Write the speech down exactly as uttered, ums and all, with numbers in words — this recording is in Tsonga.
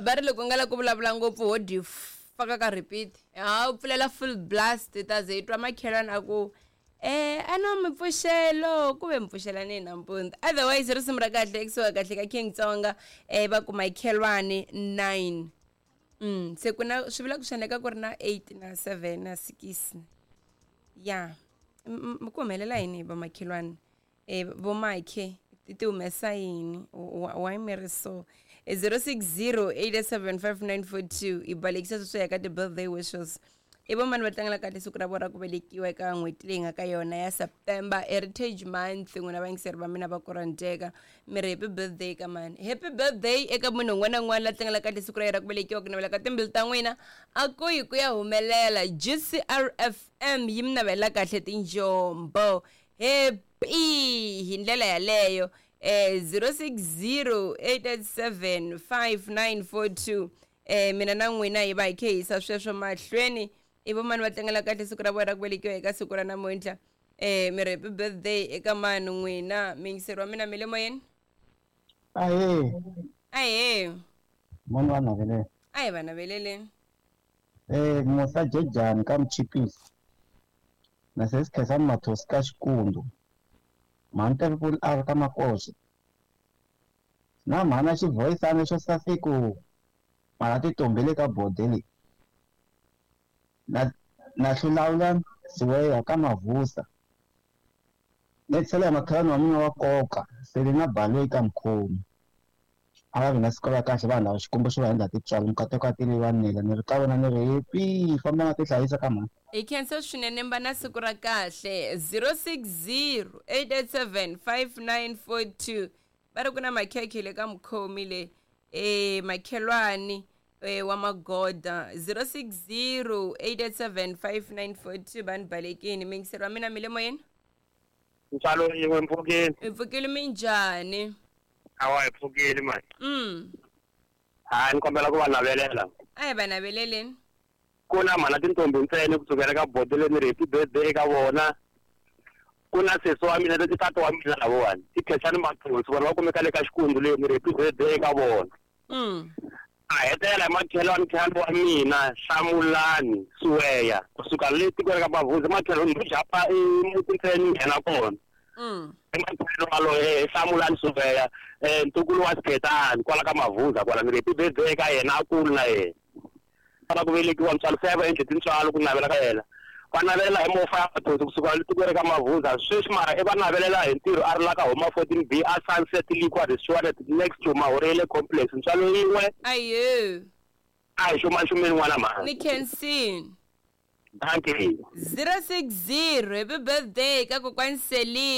Va ri loko u nga lavi ku vulavula ngopfu ho dyi faka ka repeat. Ha u pfulela full blast hi ta ze hi twa makhelwani a ku eh a no mi pfuxelo ku ve mi pfuxelani nampundzu. Otherwise risimu ra kahle kusuka kahle ka King Tsonga eh va ku makhelwani nine. Mm se ku na swi vula ku swi endleka ku ri na eight na seven na six. Ya. M- m- ku humelela yini hi vamakhelwani? Eh vomakhe ti ti humesa yini? Why mi ri so? Eh, zero six zero eight seven five nine four two hi balekisa sweswo ya ka ti-birthday wishes. I vomani va tlangela kahle siku ra vona ra ku velekiwa eka n'hweti leyi nga ka yona ya September, Heritage Month. N'wina vayingiseri va mina va ku rhandzeka, mi ri happy birthday ka mani? Happy birthday eka munhu un'wana na un'wana la tlangela kahle siku ra yena ra ku velekiwa. Ku navela ka timbilu ta n'wina a ku yi ku ya humelela. G C R F M yi mi navela kahle tinjombo, happy hi ndlela yaleyo. Eh zero six zero eight eight seven five nine four two. eh mina na n'wina hi va hi khe hisa sweswo mahlweni. I vomani va tlangela kahle siku ra vona ra ku velekiwa eka siku ra namuntlha? eh mi ri happy birthday eka mani n'wina? Miyingiseri wa mina, mi le moyeni. Ahee. Ahee. Mani va navelela. A hi va naveleleni. Eh Musa Jejani ka Mchipisi. Na sesi Khensani Mathosi ka Xikundu. Mhani Tevepul a ri ka Makoxa. Na mhana xivhoyisana xo saseko. Mara titombele ka bode. Na na hlulawula Siweya ka Mavusa. Ni tlhela hi makhelwani wa mina wa nkoka Selina Baloyi ka Mkhomi. A va vi na siku ra kahle vanhu lava, Xikwembu xi va endla tintswalo, mikateko ya tele va nela. Ni ri ka vona ni ri happy, famba na ti hlayisa ka mhani. Hi khensa swinene, mba na siku ra kahle. zero six zero eight eight seven five nine four two. Va ri ku na makhekhe le ka mukhomi le, e makhelwani e wa magoda. zero six zero eight eight seven five nine four two. Va ni balekini. Miyingiseri wa mina, mi le moyeni. Ntswalo yin'we, mpfukeni. Hi pfukile, minjhani? Awa, hi pfukile mani. mm Hayi, ni kombela ku va navelela. A hi va naveleleni. Ku na mhana tintombi ntsena kusukela ka bodele, ni ri happy birthday eka vona. Ku na sesi wa mina leti, tata wa mina lavawani i Khensani Mathonsi, vona va kumeka le ka Xikundu leyi, ni ri happy birthday eka vona. mm A hetelela hi makhelwani khale wa mina Hlamulani Suweya kusuka le tikweni ka Mavhuzi, makhelwani ndo japa i muti ntsena ni nghena kona. mm I makhelwani waloye Hlamulani Suweya, um ntukulu wa Sikhetani kwala ka Mavhuza kwala, ni ri happy birthday eka yena, a kulu na yena fana ku velekiwa. Ntswalo se va endle tintswalo ku navela ka yena, va navelela hi mofa ya Mathonsi kusuka le tikweni ka Mavhuza sweswi, mara i va navelela hi ntirho a ri la ka Homa fourteen B a Sunset Liquor Restaurant next to Mahorele Complex. Ntswalo yin'we. Ayo. A hi xumaxumeni n'wana mhani. Ni khensini. Dankie. zero six zero, happy birthday ka kokwani Selina.